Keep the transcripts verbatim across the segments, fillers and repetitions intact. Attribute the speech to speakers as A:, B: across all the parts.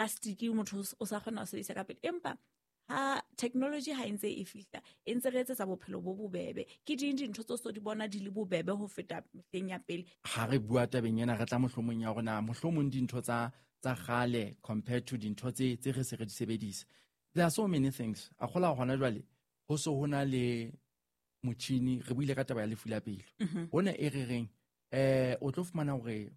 A: Plastic motho o sa kgona ho sebedisa ka pele. Empa ha technology ha e ntse e fihla, e ntse re etsetsa bophelo bo bobebe. Ke ding dintho tse so di bona di le bobebe ho feta mehleng ya pele.
B: Ha re bua tabeng ena, re tla mohlomong ya rona, mohlomong dintho tsa tsa kgale compared to dintho tse tse re se re di sebedisa. There are so many things. A kgola hona jwale ho so ho na le motjhini, re buile ka taba ya lefu la pelo. Hona e re reng eh o tlo fumana hore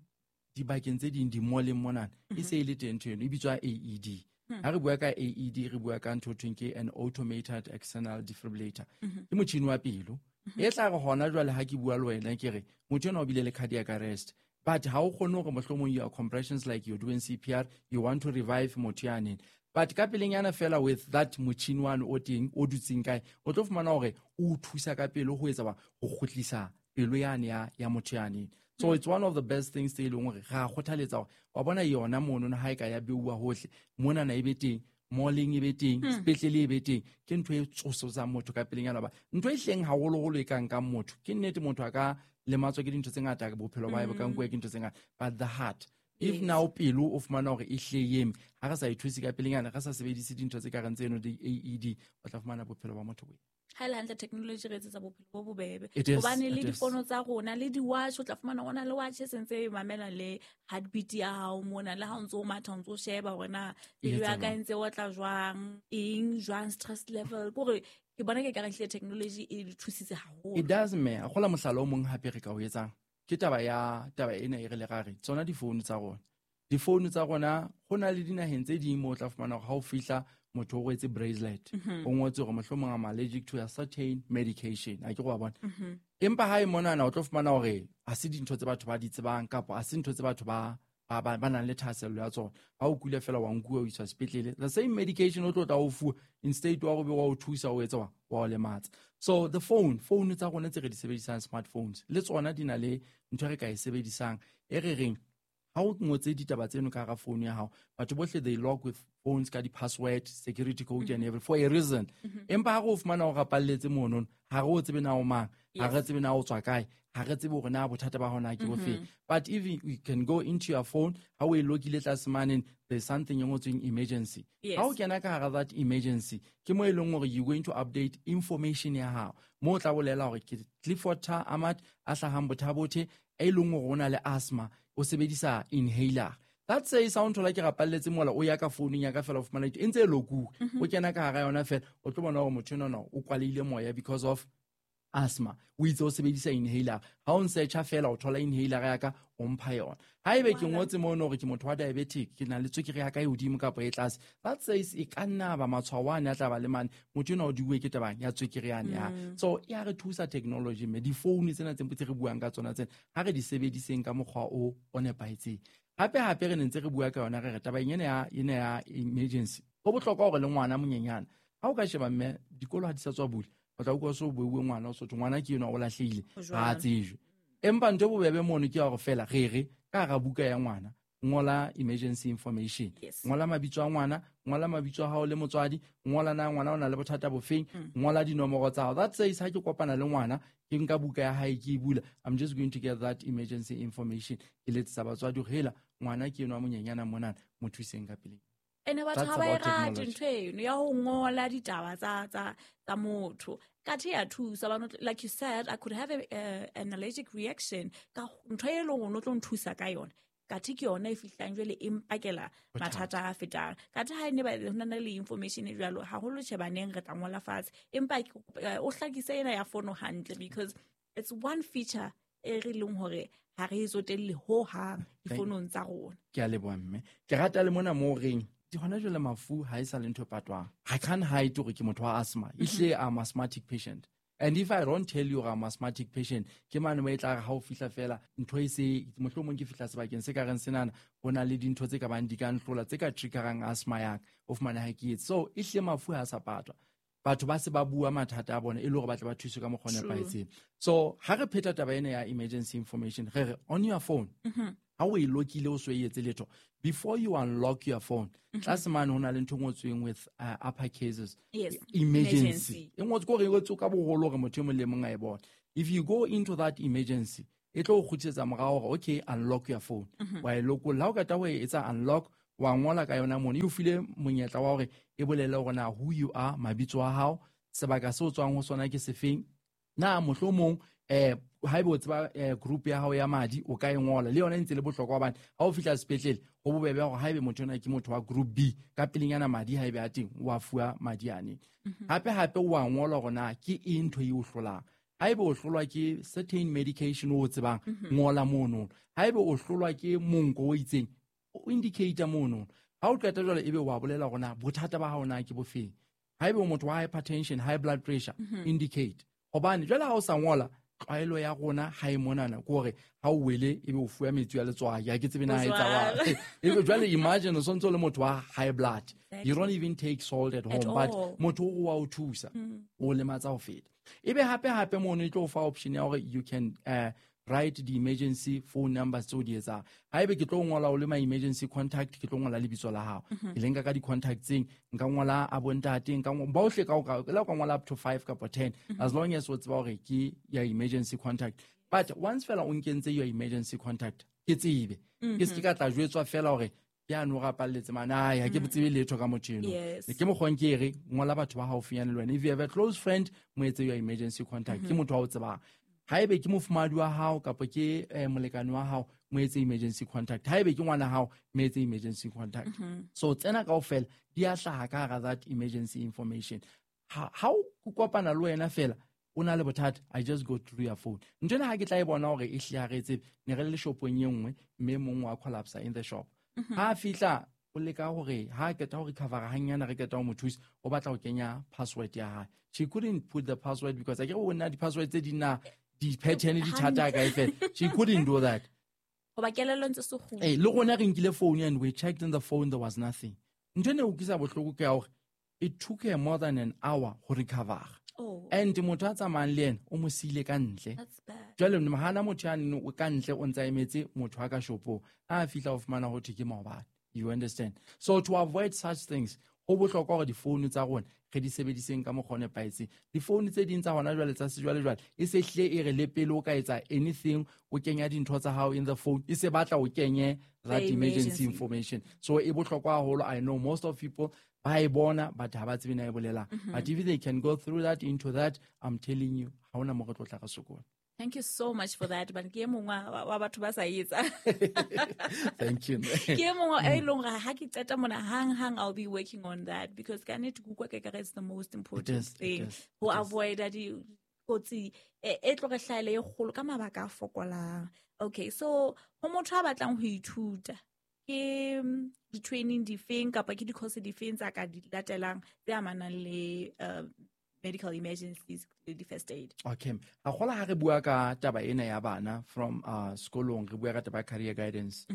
B: dibakeng tse ding di-mall-eng monana e se e le teng ntho eno e bitswa A E D. Ha re bua ka A E D re bua ka ntho thweng ke an automated external defibrillator. Ke motjhini wa pelo. E tla re hona jwale ha ke bua le wena ke re motho enwa o bile le cardiac arrest. But ha o kgone hore mohlomong your compressions like you're doing C P R, you want to revive motho yane. But ka pelenyana fela with that motjhini wane o teng o dutseng kae, o tlo fumana hore o thusa ka pelo ho etsa ba ho kgutlisa pelo yane ya, ya motho yane. So it's one of the best things tse leng hore ra kgothaletsa hore wa bona yona mono ha e ka ya beuwa hohle, mona na e be teng, mall-eng e be teng,
A: Hmm.
B: sepetlele e be teng, ke ntho e tsososang motho ka pelenyana ba. Ntho e hleng haholoholo e ka nkang motho, ke nnete motho a ka lematswa ke dintho tse ngata, bophelo ba hae bo ka
A: Hmm.
B: nkuwa ke dintho tse ngata, but the heart, if
A: Yes.
B: now pelo o fumana hore e hle e eme, ha re sa e thuse ka pelenyana, re sa sebedise dintho tse ka reng tseno di-A E D, o tla fumana bophelo ba motho bo.
A: Ha e le hantle technology re etsetsa bophelo bo bobebe.
B: It is,
A: Hobane le
B: it is.
A: difono tsa rona, le di-watch, o tla fumana hona le watch e sentse e mamela le heartbeat ya hao mona, le ha o ntso o matha, o ntso sheba hore na
B: E
A: pelo ya
B: etsa
A: ka e
B: jwang?
A: ntse e otla jwang, eng jwang, stress level. Ke hore ke bona ke ka re hlile technology e re thusitse haholo.
B: It does, mme. A kgola mohlala o mong hape re ka o etsang. Ke taba ya, taba ena e re le ra re, tsona difounu tsa rona. Difounu tsa rona, ho na le dinaheng tse ding moo o tla fumana hore ha o fihla motho o rwetse bracelet.
A: Mm-hmm.
B: O ngotse hore mohlomong I'm allergic to a certain medication. A ke go wa bona.
A: Mm-hmm.
B: Empa ha e monana o tlo fumana hore ha se dintho tse batho ba di tsebang kapa ha se ntho tse batho ba, ba, ba, ba nang le thahasello ya tsona. Ha o kula fela wa nkuwa o iswa sepetlele. The same medication o tlo tla o fuwa, instead wa hore wa o thusa o etsa wa, wa o lematsa. So the phone, phone tsa rona tse re di sebedisang smartphones, le tsona di na le ntho e re ka e sebedisang e re reng ha o ngotse ditaba tseno ka hara phone ya hao, batho bohle they log with phones ka di-password, security code and
A: Mm-hmm.
B: everything for a reason.
A: Mm-hmm.
B: Empa ha re o fumana o rapalletse mono, ha re o tsebe na o mang, ha re
A: Yes.
B: tsebe na o tswa kae, ha re tsebe hore na bothata ba hona ke bofe.
A: Mm-hmm.
B: But if you, you can go into your phone, ha o e lokile tlase mane, there's something e ngotsweng emergency.
A: Yes.
B: Ha o kena ka hara that emergency, ke mo e leng hore you going to update information ya hao. Mo o tla bolela hore ke Clifford Ahmad a hlahang Botha-Bothe, e leng hore o na le asthma, o sebedisa inhaler. That says, ha o nthola ke rapalletse mola, o ya ka founung ya ka fela o fumana e ntse e lokuwe.
A: Mm-hmm.
B: O kena ka hara yona fela, o tlo bona hore motho enwa o kwalehile moya because of asthma. O itse o sebedisa inhaler. Ha o nsearcha fela, o thola inhaler ya ka, o mpha yona. Haebe ke
A: Voilà.
B: ngotse mono hore ke motho wa diabetic, ke na le tswekere ya ka e hodimo kapa e tlase. That says e ka nna ba matshwao ane a tla ba le mane. Motho enwa o diuwe ke tabang ya tswekere yane ya.
A: Mm.
B: So e a re thusa technology mme difounu tsena tse ntse re buang ka tsona tsena, ha re di sebediseng ka mokgwa o, o nepahetseng. Hape hape re ne ntse re bua ka yona re re taba ena ya, ena ya emergency. Ho bohlokwa hore le ngwana monyenyane, ha o ka sheba mme dikolo ha di sa tswa bula, o tla utlwa so buuwe ngwana o sotho, ngwana ke enwa o lahlehile,
A: Ho
B: ha a
A: jwalo.
B: tsejwe. Empa ntho e bobebe mono ke ya hore fela re re ka hara buka ya ngwana, ngola emergency information.
A: Yes.
B: Ngola mabitso a ngwana, ngola mabitso a hao le motswadi, ngola na ngwana o na le bothata bofeng,
A: Mm.
B: ngola dinomoro tsa hao. That says ha ke kopana le ngwana, ke nka buka ya hae ke e bula, I'm just going to get that emergency information. Ke letsetsa batswadi hore hela ngwana ke enwa monyenyana monana, mo thuseng ka pele.
A: Ene batho
B: That's
A: ha ba e
B: about
A: rate
B: technology.
A: ntho eno ya ho ngola ditaba tsa, tsa, tsa motho. Kathe ya thusa, ba no, like you said, I could have a, a, an allergic reaction ka ntho e leng hore o tlo nthusa ka yona. Kathe ke yona e fihlang jwale e mpakela
B: Bothata.
A: mathata a fetang. Kathe ha e ne ba ho na le information e jwalo, haholo tjhe baneng re tla ngola fatshe. Empa ke kopa, eh, o hlakise ena ya fono hantle because it's one feature e re leng hore ha re e tsotelle ho hang
B: Thank
A: difonong tsa rona.
B: Ke a leboha mme. Ke rata le mona moo reng di hona jwale mafu ha e sa le ntho e patwang. I can't hide hore ke motho wa asthma. Ehlile I'm asthmatic patient. And if I don't tell you I'm asthmatic patient, ke mane mo e tla re ha o fihla fela, ntho e se, mohlomong ke fihla sebakeng se ka reng senana, ho na le dintho tse ka bang di ka nhlola, tse ka triggerang asthma ya ka, o fumane ha ke etse. So, ehlile mafu ha a sa patwa. Batho ba se ba bua mathata a bona e le hore ba tle ba thuswe ka mokgwa o
A: True.
B: nepahetseng. So, ha re pheta taba ena ya emergency information, re re on your phone,
A: Mm-hmm.
B: ha o e lokile o so e etse letho, before you unlock your phone,
A: Mm-hmm.
B: tlase mane ho na le ntho e ngotsweng with, uh, upper cases.
A: Yes.
B: Emergency.
A: Emergency.
B: E ngotswe kore e ngotswe ka boholo hore motho e mong le mong a e bone. If you go into that emergency, e tlo o kgutlisetsa morao hore, okay, unlock your phone.
A: Mm-hmm.
B: Wa e lokolla. Ha o qeta ho e etsa unlock, Wa ngola ka yona mono. E o file monyetla wa hore e bolele hore na who you are, mabitso a hao, sebaka seo tswang ho sona ke sefeng. Na mohlomong eh haebe o tseba group ya hao ya madi o ka e ngola le yona e ntse le bohlokwa hobane ha o fihla sepetlele ho bobebe hore haebe motho ona ke motho wa group B ka pelenyana madi haebe a teng wa fuwa madi ane. Hape hape wa ngola hore na ke eng ntho e o hlolang. Haebe o hlolwa ke certain medication o tsebang ngola mono. Haebe o hlolwa ke monko o itseng o indicate mono. Ha o qeta jwale ebe wa bolela hore na bothata ba hao na ke bofeng. Haebe o motho wa hypertension, high blood pressure, indicate. Hobane jwale ha o sa ngola tlwaelo ya rona ha e monana ke hore ha o wele ebe o fuwa metsi a letswai ha ke tsebe na e etsa wa ebe jwale imagine o sontso le motho wa high blood. You don't even take salt at home, but motho o wa o thusa o lematsa ho feta. Ebe hape hape mono e tlo fa option ya hore you can uh, write the emergency phone numbers tseo di etsang. Haebe ke tlo ngola o le my emergency contact, ke tlo ngola lebitso la hao. Ke le nka ka di-contact tseng, nka ngola a bontate, nka bohle ka o ka ngola up to five kapa ten, as long as o tseba hore ke ya emergency contact. But once fela o nkentse your emergency contact, ke tsebe. Ke se ka tla jwetswa fela hore ke a no rapalletse mana ha ke tsebe letho ka motho eno. Ke mokgwa ke re ngola batho ba haufinyane le wena. If you have a close friend, mo etse your emergency contact. Ke motho wa o tsebang. Haebe ke mofumadi wa hao kapa ke molekane wa hao, mo etse emergency contact. Haebe ke ngwana hao, mo etse emergency contact. So tsena kaofela di a hlaha ka hara that emergency information. Ha o kopana le wena fela o na le bothata, I just go through your phone. Ntho ena ha ke tla e bona hore e hlahetse, ne re le shopong e nngwe mme mong wa collapse in the shop. Ha fihla o leka hore ha qeta ho recover hanyana re qeta ho mo thusa, o batla ho kenya password ya hae. She couldn't put the password because I get o na di password tse di na di pattern di thata ka e. She couldn't do that.
A: Hoba kelello ntse se kgutla.
B: Eh, le rona re nkile phone and we checked in the phone, there was nothing. Ntho ene o utlwisa bohloko ke ya hore it took her more than an hour ho recover.
A: Oh.
B: And motho a tsamayang le yena o mo siile ka ntle.
A: That's bad.
B: Jwale hana motho ya nne o ka ntle o ntsa emetse motho a ka shopong. Ha fihla o fumana ho thwe ke maobane. You understand? So to avoid such things, ho bohlokwa hore difounu tsa rona re di sebediseng ka mokgwa o nepahetseng. Difounu tse ding tsa hona jwale tsa sejwalejwale e se hle e re le pele o ka etsa anything, o kenya dintho tsa hao in the phone, e se batla o kenye that emergency information. So e bohlokwa haholo. I know most of people ba e bona but ha ba tsebe na e bolelang. But if they can go through that into that, I'm telling you, ha hona mo re tlo tla re sokola.
A: Thank you so much for that. But ke mongwe wa batho ba sa etsa.
B: Thank you.
A: Ke mongwe e leng hore ha ke qeta mona hang hang I'll be working on that because ka nnete ke utlwa ke kare it's the most important thing ho avoid di kotsi e tlo re hlahele e kgolo ka mabaka a fokolang. Okay, so ho motho a batlang ho ithuta ke di training difeng kapa ke di course difeng tsa ka di latelang tse amanang le medical emergencies le first aid?
B: Okay. Hahola ha re bua ka taba ena ya bana from uh sekolong, re bua ka taba career guidance.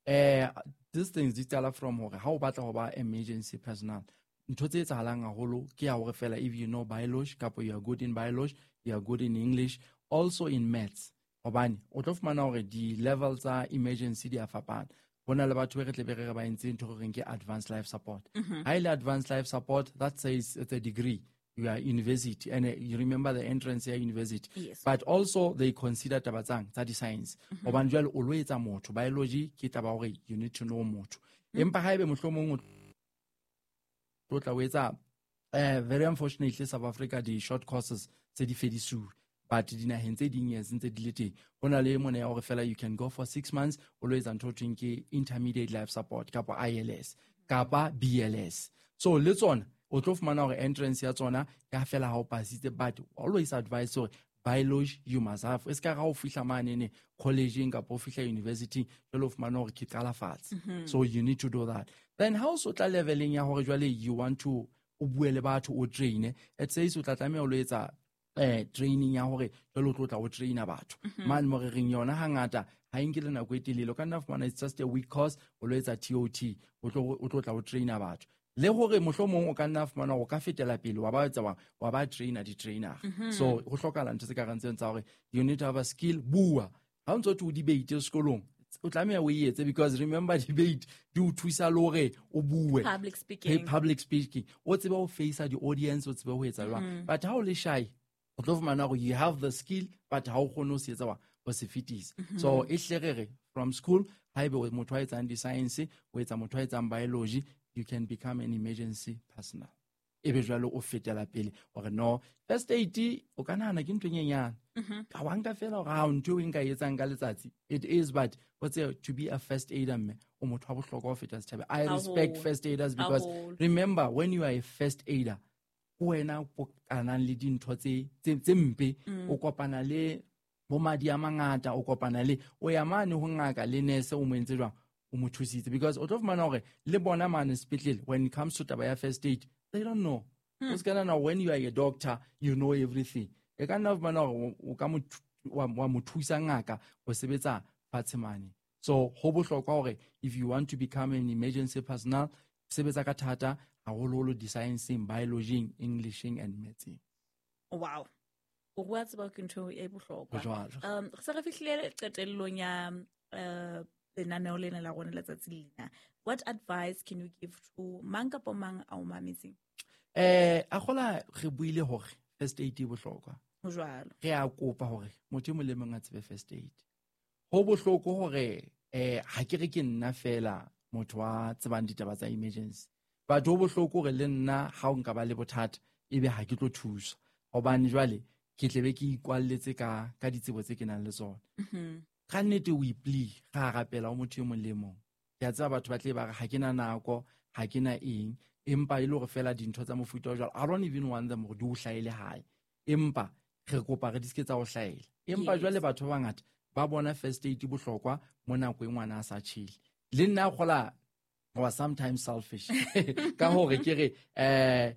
B: Eh these things di qala from hore ha o batla ho ba emergency personnel, ntho tse etsahalang haholo ke ya hore fela if you know biology kapa you are good in biology, you are good in English, also in maths. Hobane o tlo fumana hore di level tsa emergency di a fapana. Hona le batho re tle be re ba entse ntho re reng ke advanced life support. Ha ile advanced life support, that says it's a degree. You are university and uh, you remember the entrance here university.
A: Yes.
B: But also they consider taba tsang tsa di science. Hobane jwale o lo etsa motho biology ke taba hore you need to know motho. Empa haebe mohlomong o tlo tla o etsa eh very unfortunately South Africa di short courses tse di fedisuwe. But dinaheng tse ding yes ntse di le teng. Hona le mona ya hore fela you can go for six months o lo etsa ntho thweng ke intermediate life support kapa I L S kapa B L S. So le tsona o tlo fumana hore entrance ya tsona ya fela ha o pasitse, but always advise hore biology you must have. E ska ga o fihla mane ne college kapa o fihla university jwale o fumana hore ke qala fatshe. So you need to do that. Then how so tla leveling ya hore jwale you want to o bue le batho o train, it says o tla tlameha o lo etsa eh training ya hore jwale o tlo tla o traina batho. Mane mo re reng yona hangata ha e nke le nako e telele, o ka nna fumana it's just a week course o lo etsa T O T o tlo o tlo tla o traina batho. Le hore mohlomong o ka nna fumana o ka fetela pele wa ba etsa wa ba trainer di trainer. So ho hlokahala ntho tse ka reng tsa hore you need to have a skill. Bua ha o ntso o debate sekolong o tlameha o etse because remember debate di o thusa le hore o bue
A: public speaking.
B: Public speaking o tsebe ho face the audience, o tsebe ho etsa jwang. But ha o le shy o tlo fumana hore you have the skill but ha o kgone ho se etsa wa ho se fetisa. So e hle re re from school Haebe o motho a etsang di-science, o etsa motho a etsang biology, you can become an emergency personnel. Ebe jwale o fetela pele hore no, first aid o ka nahana ke ntho e nyenyane. Ka wa nka fela hore ha ntho eo e nka e etsang ka letsatsi. It is, but what's it, to be a first aider mme, o motho wa bohlokwa ho feta setjhabeng. I respect
A: Haholo.
B: first aiders because
A: Haholo.
B: remember, when you are a first aider, ke wena o kopanang le dintho tse, tse, tse mpe, o kopana le bo madi a mangata, o kopana le, o ya mane ho ngaka le nurse, o mo entse jwang, o mo thusitse. Because o tlo fumana hore le bona mane sepetlele, when it comes to taba ya first aid, they don't know. O ska nahana when you are a doctor, you know everything. E ka nna fumana hore o ka mo thu-, wa, wa mo thusa ngaka ho sebetsa fatshe mane. So ho bohlokwa hore if you want to become an emergency personnel, sebetsa ka thata haholoholo di-science-eng, biology-eng, Englisheng and maths-eng.
A: Wow. O bua tseba ke ntho e bohlokwa.
B: Ho jwalo.
A: Um, re se re fihlile qetellong ya, eh, lenaneo lena la rona letsatsi lena. What advice can you give to mang kapa mang a o mametseng?
B: Eh, a kgola re buile hore first aid e bohlokwa.
A: Ho jwalo.
B: Re a kopa hore motho e mong le mong a tsebe first aid. Ho bohloko hore, eh, ha ke re ke nna fela motho wa tsebang ditaba tsa emergency. But ho bohloko hore le nna ha o nka ba le bothata ebe ha ke tlo thuswa. Hobane jwale ke tle be ke ikwalletse ka, ka ditsebo tse ke nang le tsona.
A: Mhm.
B: Ka nnete o ipli, ra rapela ho motho e mong le mong. Ke a tseba batho ba tle ba re ha ke na nako, ha ke na eng, empa e le hore fela dintho tsa mofuta o jwalo, I don't even want them hore di o hlahele hae. Empa re kopa re di ske tsa o hlahela. Empa
A: Yes.
B: jwale batho ba bangata ba bona first aid bohlokwa mo nako e ngwana a sa tjhele. Le nna kgola wa sometimes selfish. Ka hore ke re, eh,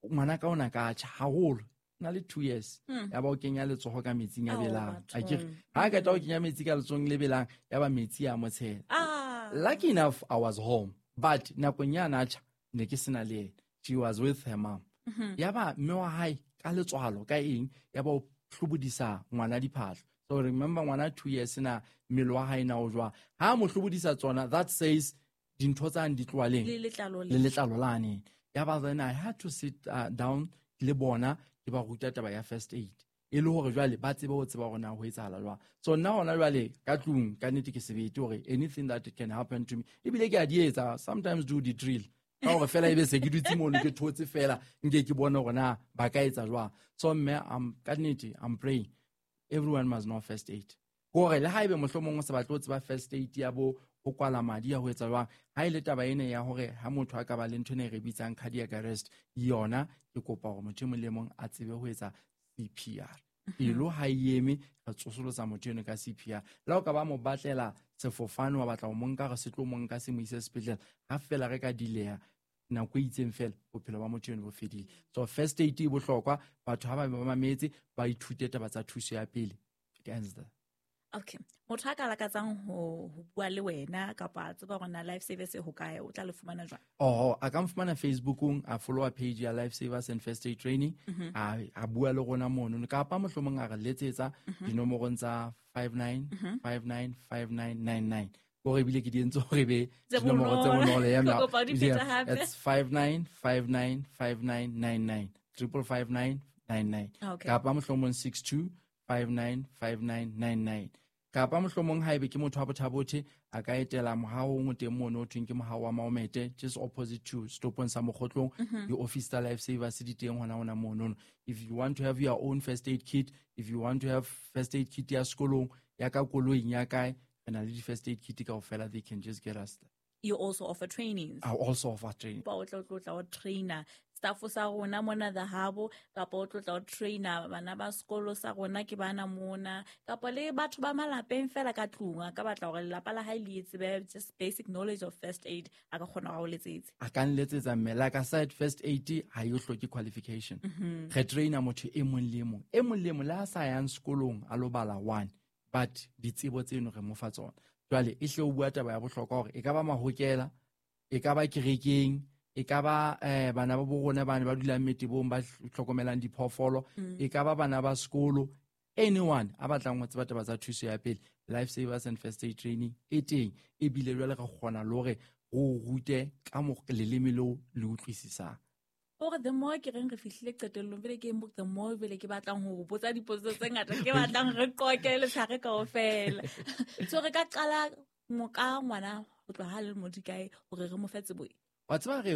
B: ngwana ka ona ka tjha haholo. Na le two years.
A: Hmm.
B: Ya ba o kenya letsoho ka metsing a
A: Ao,
B: belang. A ke re,
A: bathong.
B: ha ka tla o kenya metsi ka letsohong le belang, ya ba metsi a mo tshela.
A: Ah.
B: Lucky enough I was home, but nakong ya na tjha, ne ke sena le yena. She was with her mom.
A: Mm-hmm.
B: Ya ba mme wa hae ka letswalo ka eng, ya ba o hlobodisa ngwana diphahlo. So remember ngwana two years na mmele wa hae na o jwang. Ha mo hlobodisa tsona, that says dintho tsa di tloha leng?
A: Le letlalo le.
B: Le letlalo lane. Ya ba then I had to sit, uh, down le bona ke ba ruta taba ya first aid. E le hore jwale ba tsebe ho tseba hore na ho etsahala jwang. So nna hona jwale ka tlung ka nnete ke sebete hore anything that can happen to me. Ebile ke a di etsa, sometimes do the drill. Ka hore fela ebe se ke dutse mono ke thotse fela nke ke bone hore na ba ka etsa jwang. So mme, I'm, ka nnete, I'm praying everyone must know first aid. Hore le haebe mohlomong o sa batle ho tseba first aid ya bo ho kwala madi ya ho etsa jwang, ha ile taba ena ya hore ha motho a ka ba le ntho ena e re bitsang cardiac arrest, yona ke kopa hore motho e mong le mong a tsebe ho etsa C P R. Pelo ha e eme, re tsosolosa motho eno ka C P R. Le ha o ka ba mo batlela sefofane, wa batla ho mo nka, re se tlo mo nka se mo ise sepetlele, ha fela re ka dileha nako e itseng fela, bophelo ba motho eno bo fedile. So first aid e bohlokwa, batho ha ba ba mametse, ba ithute taba tsa thuso ya pele. It ends there.
A: Okay. Motho a ka lakatsang ho, ho bua le wena kapa a tseba hore na Life Savers e hokae, o tla le fumana jwang?
B: Oh, a ka mfumana Facebookong, a follow page ya Life Savers and First Aid Training,
A: Mhm.
B: a, a bua le rona mono, kapa mohlomong a re letsetsa
A: Mhm.
B: dinomorong tsa five nine,
A: Mhm.
B: five nine, five nine, nine nine. Hore ebile ke di entse hore be
A: Tse
B: dinomoro tse
A: bonolo.
B: bonolo, ya
A: Ke
B: mna.
A: kopa o di
B: Yeah,
A: phete hape.
B: it's five nine, five nine, five nine, nine nine. Triple five nine, nine nine.
A: Okay.
B: Kapa mohlomong six two, five nine, five nine, nine nine. Kapa mohlomong haebe ke motho wa Botha-Bothe, a ka etela mohahong o teng mono ho thweng ke mohaho wa Maomete, just opposite to stopong sa Mokgotlong,
A: Mm-hmm.
B: di-office tsa Life Savers di teng hona hona mono. If you want to have your own first aid kit, if you want to have first aid kit ya sekolong, ya ka koloing, ya kae, re na le di-first aid kit kaofela, they can just get us there.
A: You also offer trainings.
B: I also offer training.
A: Ba o tla o tla o trainer staff sa rona mona The Hub, kapa o tlo tla o trainer bana ba sekolo sa rona ke bana mona, kapa le batho ba malapeng fela ka tlung, a ka batla hore lelapa la hae le tsebe just basic knowledge of first aid, a ka kgona ho o letsetse.
B: A ka nletsetsa mme, like I said, first aid ha e hloke qualification.
A: Mm-hmm.
B: Re trainer motho e mong le e mong, e mong le e mong le ha sa yang sekolong a lo bala one, but ditsebo tseno re mo fa tsona. Jwale e hle o bua taba ya bohlokwa hore e ka ba mahokela, e ka ba kerekeng, e ka ba, eh, bana ba bo rona bane ba dulang metebong ba hlokomelang diphoofolo,
A: Mm.
B: e ka ba bana ba sekolo, anyone a batlang ho tseba taba tsa thuso ya pele, Life Savers and First Aid Training e teng, ebile jwale re kgona le hore re o rute ka mo leleme leo le utlwisisang.
A: Gore the more ke reng re fihlile qetellong, pele ke the more pele ke batlang ho botsa dipotso tse ngata, ke batlang re qoke letshehare kaofela. So re ka qala mo ka ngwana ho tloha ha le mo dikae hore re mo fe tsebo e?
B: Wa tseba re